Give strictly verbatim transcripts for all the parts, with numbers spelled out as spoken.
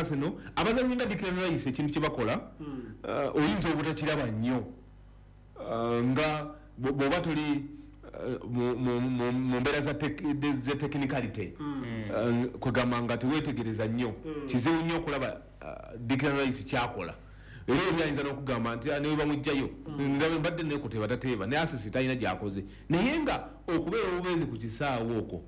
Arsenal abazanyi nga Declan Rice, ekintu kyebakola uh, oyinza obutakiraba nnyo Uh, nga bw- bw'oba toli uh, mu- mu- mu mu mbeera za tek- za technicality, Uh, kwegamba nga tewetegereza nnyo, kizibu nnyo okulaba uh, Declan Rice kyakola. Era oli ayinza n'okugamba nti, "Ah, newe bamugjayo nga mbadde nekuteeba tateeba, ne assist talina gyakoze." Naye nga okubeera obubeezi ku kisaawe okwo,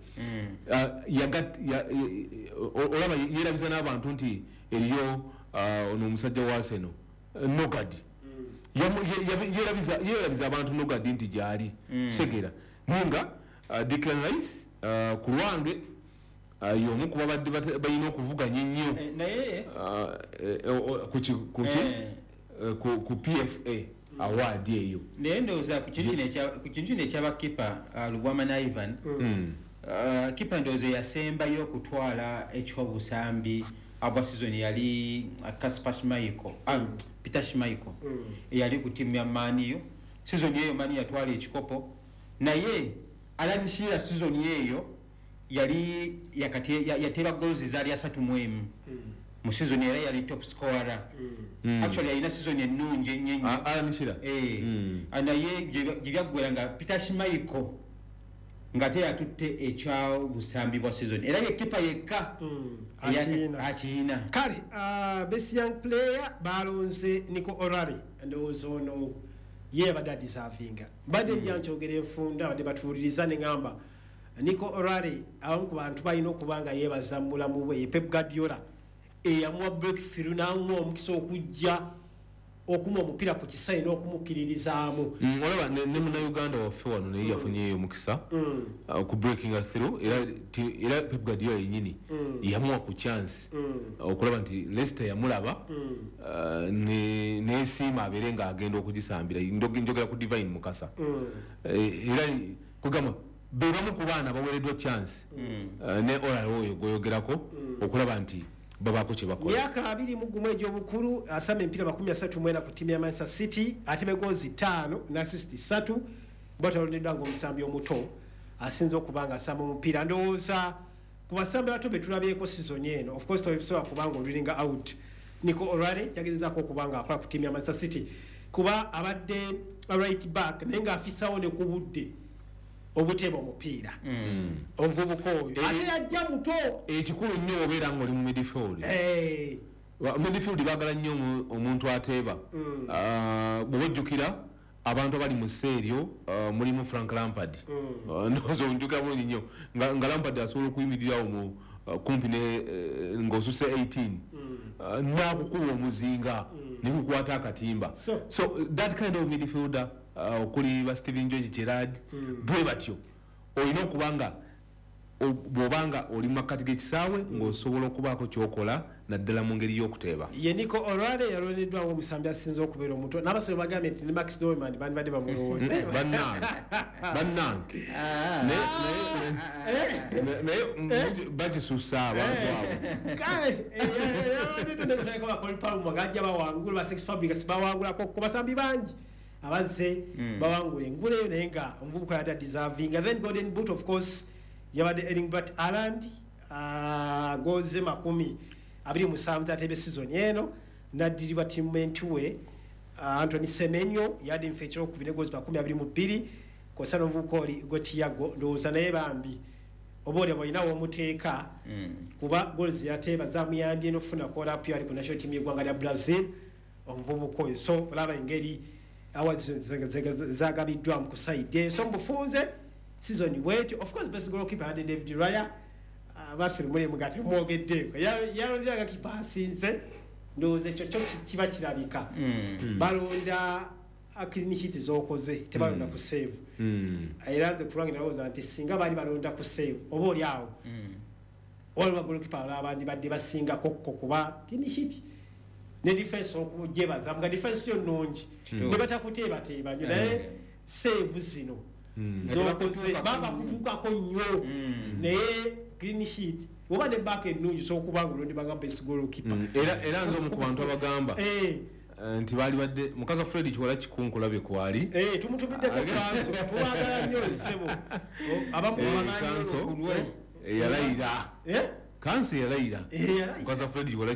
uh, yagat- ya- ye- o- olaba yeerabiza n'abantu nti eriyo uh, ono omusajja wa Arsenal, uh, Norgaard. Yamu- ye- yabe- yeerabiza yeerabiza abantu Norgaard nti gyali kitegeera. Naye nga uh, Declan Rice, uh, ku lwange uh, y'omu ku babadde bate- balina okuvuganya ennyo Eh, naye uh, eh, o- ku ki- ku ki? Eh. Eh, ku ku P F A award eyo. Naye ndowooza ku kintu kino ekya- ku kintu kino ekyabakipa, uh, Lubwama ne Ivan, uh, kipa ndowooza yasembayo okutwala ekyobusambi abwa season yali uh, Kasper Schmeichel, ah, Peter Schmeichel, eyali ku ttiimu ya Man U. Season eyo Man U yatwala ekikopo, naye Alan Shearer season eyo yali yakate- ya- yateeba goals zaali asatu mu emu mu season, era yali top scorer. Actually yalina season ennungi ennyo ennyo. Ah, Alan Shearer. Eh, Mm. ah, naye gye gye byaggwera nga Peter Schmeichel nga te yatutte ekyabusambi bwa season, era ye kipa yekka eya- Akiyina. Akiyina. Kale uh, best young player balonze Nico O'Reilly. Ndowooza ono ye abadde adeservinga. Mbadde nja nkyogera enfunda, abadde batuwuliriza, ne ŋŋamba Nico O'Reilly abamu ku bantu balina okuba nga yeebaza mu bulamu bwe ye Pep Guardiola, eyamuwa breakthrough n'amuwa omukisa okujja okuma omupiira ku kisaawe n'okumukkiririzaamu. Mm, olaba ne, ne munnayuganda waffe wano naye yafunyeyo omukisa uh, ku breaking through, era ti- era Pep Guardiola yennyini yamuwa ku chance uh, okulaba nti Leicester yamulaba uh, ne- nesiima abeere ng'agenda okugisambira. Ndo- njogera ku Divine Mukasa. Eh, era kugamba be bamu ku baana baweereddwa chance uh, ne O'Reilly oyo gweyogerako okulaba nti babaako kye bakola. Myaka abiri mu gumu egy'obukulu, asamba emipiira makumi asatu mu ena ku ttiimu ya Manchester City, atema goals ttaano n'assist ssatu. Bwatalondeddwa ng'omusambi omuto asinze okuba nga asamba omupiira. Ndowooza ku basambi abato be tulabyeko season eno, of course tobisobola kubanga olulinga out Nico O'Reilly kyagezezaako okuba nga akola ku ttiimu ya Manchester City, kuba abadde right back naye ng'afisawo ne ku budde obuteeba omupiira. Omuvubuka oyo Eh, ate yajja muto. Ekikulu nnyo obeera ng'oli mu midfield. Eh, Wa- midfield baagala nnyo omu- omuntu ateeba. Ah, bw'oba ojjukira abantu abali mu sseeryo, ah, mulimu Frank Lampard. Ah, ndowooza onjukira bulungi nnyo nga nga Lampard asobola okuyimirirawo mu ah, kumpi ne eh, ng'osuse eighteen, Ah, n'akukuba omuzinga nekukwata akatimba. So- So that kind of midfielder, ah, okuli ba Steven George Gerrard, bwe batyo olina okuba nga o- bw'obanga oli mu makkati g'ekisaawe ng'osobola okubaako kyokola, naddala mu ngeri y'okuteeba. Ye Nico O'Reilly yalondeddwa ng'omusambi asinze okubeera omuto, n'abasore bagambye nti ne Max Dowman bandibadde bamulowooza. Bannange, bannange, Naye- naye- naye mm, bakisusa abantu abo. Kale yalondeddwa ba Cole Palmer gajja bawangula, ba Cesc Fabregas bawangulako, ku basambi bangi abazze bawangula engule eyo, naye nga omuvubuka yadde deserving. Then golden boot, of course, yabadde Erling Braut Haaland, goals makumi abiri musanvu tatebe season eno, naddirirwa teammate we uh, Anthony Semenyo, yadde nfe ekyokubiri ne goals makumi abiri mu bbiri, kosa n'omuvubuka oli Hugo Thiago. Ndowooza naye bambi oba oli olina womuteeka, kuba goals yateeba zamuyambye n'okufuna call-up ali ku national team y'eggwanga lya Brazil, omuvubuka oyo. So olaba engeri awards zagabiddwamu ku side. So mubufunze season bwetyo. Of course best goalkeeper yadde David Raya. Basiru mulimu nga temwogeddeeko, yalonderaga kipa asinze. Ndowooza ekyo kyo kiba kirabika, balonda clean sheet zokoze, tebalonda ku save. Era nze kulwange nalowooza nti singa baali balonda ku save, oba oli awo waliwo bagolokipa abalala bandibadde basingako ko, kuba clean sheet ne defense okugyebaza nga defense yo nnungi ne batakuteebateeba nnyo, naye save zino zokoze babakutuukako nnyo. Naye clean sheet oba ne back ennungi, osobola okuba nga olondebanga best goalkeeper. era era nze omu ku bantu abagamba Eh, eh, nti baali badde Mukaza Fred Kiwala kikunkulabye kwali. eh, tumutumiddeko kanso, tubagala nnyo ssebo abamu. Eh, kanso yalayira. Eh? Kanso yalayira. Eh, yalayira. Mukaza Fred Kiwala.